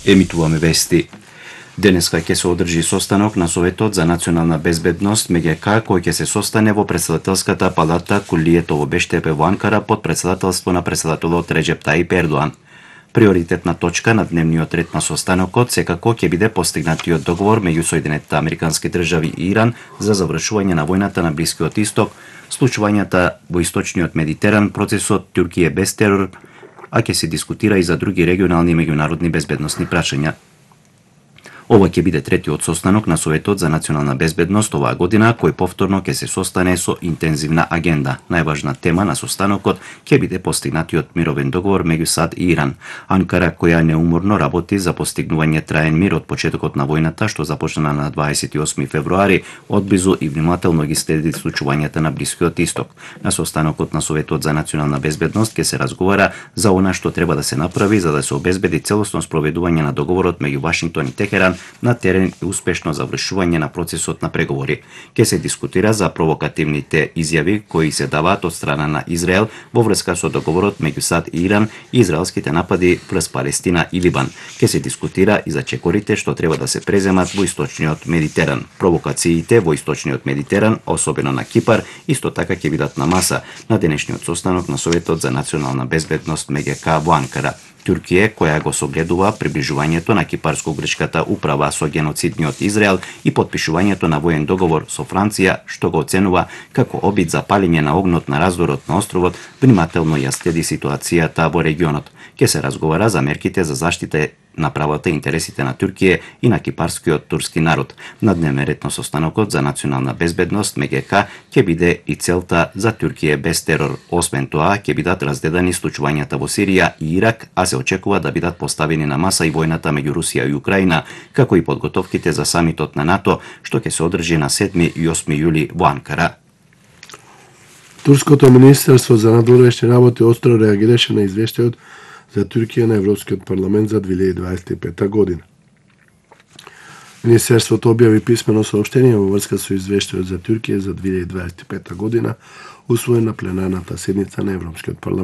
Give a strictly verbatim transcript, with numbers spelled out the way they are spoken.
Емитуваме вести. Денеска ќе се одржи состанок на Советот за национална безбедност ем ге ка кој ќе се состане во претседателската палата Кулието во Бештепе во Анкара под претседателство на претседателот Реджеп Таип Ердоан. Приоритетна точка на дневниот ред на состанокот секако ќе биде постигнатиот договор меѓу Соединетите Американски држави и Иран за завршување на војната на Блискиот Исток, случувањата во Источниот Медитеран, процесот Туркија без терор, а ќе се дискутира и за други регионални и меѓународни безбедносни прашања. Ова ќе биде третиот состанок на Советот за национална безбедност оваа година, кој повторно ќе се состане со интензивна агенда. Најважна тема на состанокот ќе биде постигнатиот мировен договор меѓу САД и Иран. Анкара, која неуморно работи за постигнување траен мир од почетокот на војната, што започна на дваесет и осми февруари, одблизу и внимателно ги следи случувањата на Блискиот Исток. На состанокот на Советот за национална безбедност ќе се разговара за она што треба да се направи за да се обезбеди целосно спроведување на договорот меѓу Вашингтон и Техеран на терен и успешно завршување на процесот на преговори. Ке се дискутира за провокативните изјави кои се даваат од страна на Израел во врска со договорот меѓу САД и Иран и израелските напади врз Палестина и Либан. Ке се дискутира и за чекорите што треба да се преземат во Источниот Медитеран. Провокациите во Источниот Медитеран, особено на Кипар, исто така ќе бидат на маса на денешниот состанок на Советот за национална безбедност ем ге ка во Анкара. Туркија, која го согледува приближувањето на кипарско-грчката управа со геноцидниот Израел и подпишувањето на воен договор со Франција, што го оценува како обид за палење на огнот на раздорот на островот, внимателно ја следи ситуацијата во регионот. Ке се разговара за мерките за заштита на правата и интересите на Туркија и на кипарскиот турски народ. На дневен ред на состанокот за национална безбедност ем ге ка ќе биде и целта за Туркија без терор. Освен тоа, ќе бидат разгледани случувањата во Сирија и Ирак, а се очекува да бидат поставени на маса и војната меѓу Русија и Украина, како и подготовките за самитот на НАТО, што ќе се одржи на седми и осми јули во Анкара. Турското министерство за надворешни работи остро реагираше на извештајот за Туркија на Европскиот парламент за две илјади дваесет и пета година. Министерството објави писмено соопштение во врска со извештајот за Туркија за две илјади дваесет и пета година, усвоен на пленарната седница на Европскиот парламент.